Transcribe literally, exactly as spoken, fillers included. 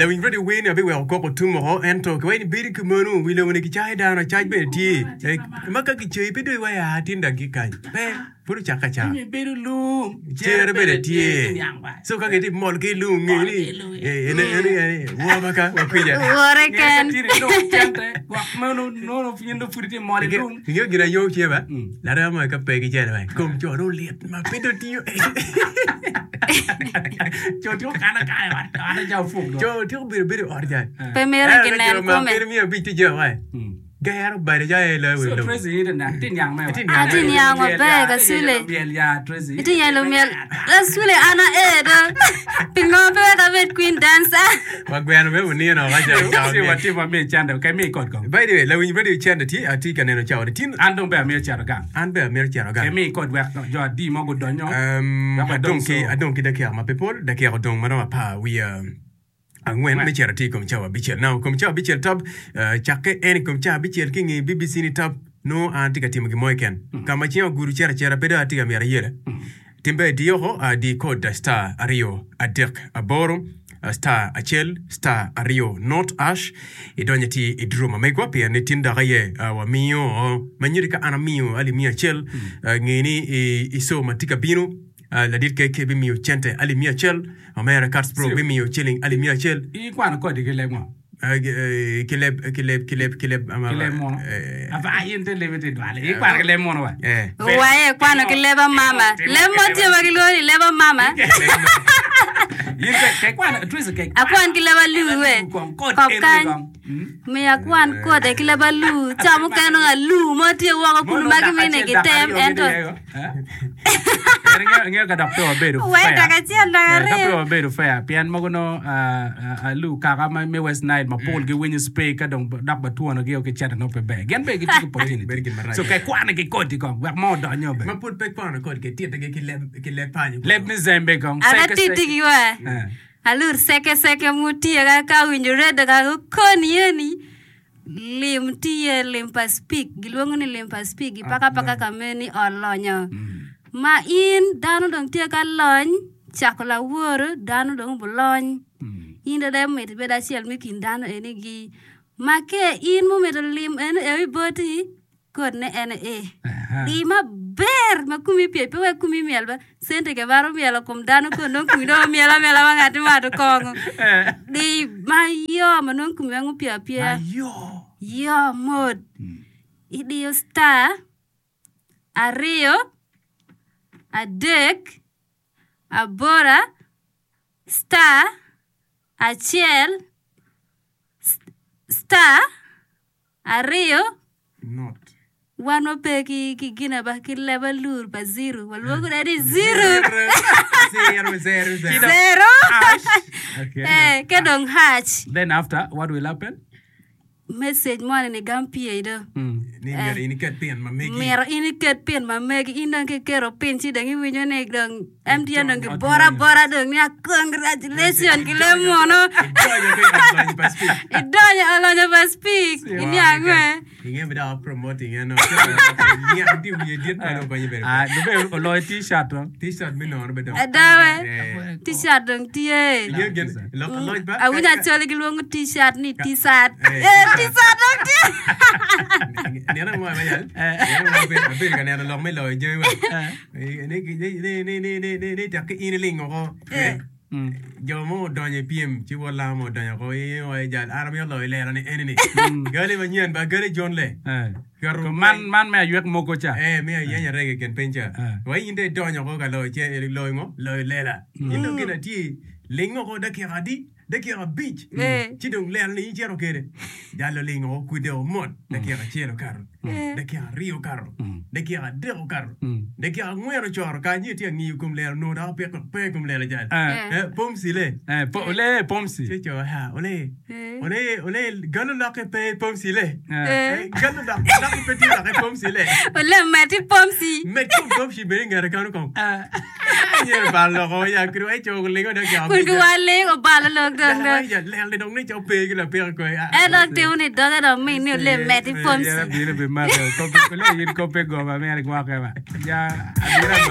Lawiny radio wer ni abiweko koko tum oko ento kiwaco ni bedo ki meno wi lobo ni kicayo dano acac bene tye Eh, ma ka kicayi pe dong iwaco aa tin dong ki kany pe pud ocake acaka Cwinyi bedo lung, cere bene tye Niang ba. so ka gitye mol ki lung nge ni eh, ene ene ene woo ma ka wakwica Wore Nge ken. ka tye i lung cente, gwok meno nono in dong pud itye mol i lung. Ingeyo gin aye oceba ba larema mo ka pe ki cene ba kom co dong lit ma pe dong tiyo Co tye okane akana i ot, ot ca opuk dong. Co tyeko bedo bedo i ot ca Pe mito ginen kome. Kene miya abic tye jo wa gero bade ca aye loyo wi So lobo. Tracy in ite ite niang me wa. Ite niang Ati niang maber kasule. Myel ya Tracy. Ite yelo myel. Kasule an aer do. Pingo pe wek abed queen dancer? Wa gweno me munino ka ca ca Ci watye wamiyo cente, okay, mi kod kong. By the way, lawiny radio cente tye atye ka neno cawa ni tin An dong be amiyo cito gang. an bene amito cito gang. Okay, mi kod wek jo adi mo gudonyo. Um, Wek wadong adong ki so. adong ki dakika ma pe pol dakika odong ma romo apar wiye angwen me cito tye i kom cawa abicel. Now, kom cawa abicel tab, eh, cakke en i kom cawa abicel ki i nge BBC ni tab, nongo an atye ka timo gin mo keken. Ka ma cinga ogudo cito acita pe dong atye ka myero ayele. Tim ber di oko, ah, di kod star aryo adek aboro ah, star acel star aryo not ash idonyo iti i draw ma megwa pien ni tin dok aye ah, wamiyo ma nyuti ka an amiyo alip miya acel ah, nge ni i, i show ma tye ka bino Ah, ladit keke bimiyo cente alip miya acel, omera Katz-Bro Sip. bimiyo ciling alip miya acel. Ikwano kodi ki leb ngo? Ah, gi- eh, ki leb, ki leb, ki leb, ki leb, ama- Ki leb muno? eh, Ava in te lebi te dwale. Ikwano ki leb muno wa? eh. Waye kwano ki leb amama. Leb mo tye ma gilwongo ni leb amama. In ke ke kwano Tracy ke Akwan ki leb alur we. Kong kod Kop eno kany. kong. Mm. Miyo akwan kode ki leb alur. Ca mukene nongo alur mo tye woko kunu ma gimine gitem ento. Ingeyo ka dok pe wabedo Wai fair. dok acel dok Eh, Ka pe aryo. wabedo fair pien mogo nongo ah, ah, alu kaka ma me West Nile mapol giwinyo speak ka dong dok batwonogi o ki cente nongo pe ber. Gin bene gitye ki opportunity. Bedo gin marac. So ka ikwano ki kodi kong wek mo odonyo be. Ma pud pe kwano kod ke titigi ki leb ki leb panyo. Leb me Zembe kong. An Seke, seke. atitigi wa. Eh. Alur seke seke mutiyo ka ka winjo redo ka gukoni eni lim tiye lim pa speak gilwongo ni lim pa speak gipaka paka ka meni olonyo ma in dano dong tye ka lony cako laworo dano dong obulony in dong mito ibed acel me kin dano eni gi ma ke in mumito lim eno ewi boti kod ne en e di maber ma komi pye pe wek komi myel ba cente ke maro myelo kom dano kun nongo komi dong omyel amyela ma ngati mato kongo di mayo ma nongo komi weng opye apyeya Ayo. yo mot idiyo star aryo adek abora star acel star aryo Not. wan wape ki ki gina ba ki leb alur pa zero walwongo kwede ni zero Zero, zero, zero. zero Hash. Okay. eh ke dong hash Then after what will happen? message moni ni gam pye do Mm. Ni myero in iket pin ma megi. miro in iket pin ma megi in dong kiketo pin ci dong iwinyo ni dong M T N dong giboro abora dong ni congratulation ki leb muno Idonyo ki olonyo pa speak. idonyo olonyo pa speak iniang we Inge bi dok promoting eno. Niang tye wiye dit ma dong konyi bedo. Ah, dong oloyo t-shirt to. T-shirt me nono be dong. adawe Eh. T-shirt dong tye Inge gin lok aloc ba. awinyo acoli gilwongo T-shirt ni T-shirt Eh, eh T-shirt dong tye Nino mo ma yal. Nino mo abedo abedo ka neno lok me loyo jami wa. Ni ni ni ni ni ni ni ni tek ki in iling oko. Eh. Mm. Jo mo odonyo i pyem ci wod lamo mo odonyo oko i wa jal an amito loyo lelo ni eni ni. Gali manyen ba gali John le. Eh. Keto To man man me aywek mogo ca. Eh, me ayeny arege i kin piny ca. Eh. Wa in dong idonyo oko ka loyo ce loyo ngo? Loyo lela. In dong gin atye ling oko dakika adi? Dakika abic. Eh. Ci dong lela ni in icito kede. Jal oling oko kude oko mot. Dakika acel okato. Dakika aryo okato. Dakika adek okato. Dakika angwen ocoro kany ci itye ka ngiyo kom lela onongo dok opiko pe i kom lela jal. Eh. Eh, pomci le. Eh, po, ole pomsi. Ci oco ha, ole. Eh. Ole, ole, galo lokke pe pomci le. Eh. Eh. Galo lok, lokke pe tye lokke pomci le. Ole meti pomci Med kom pomci bene i ngete kanu kong. Eh. Anyero balo loko ya kiri wa ico lingo dok ya. kun giwa ling obalo lok dong dong Lel ni dong ni co pe ki lapiko ko. en dong timo ni doge dong min ni ole meti pomci Yera bino bi mako. Kope, ole yin kope goma mere gwoke ba. Ja, abira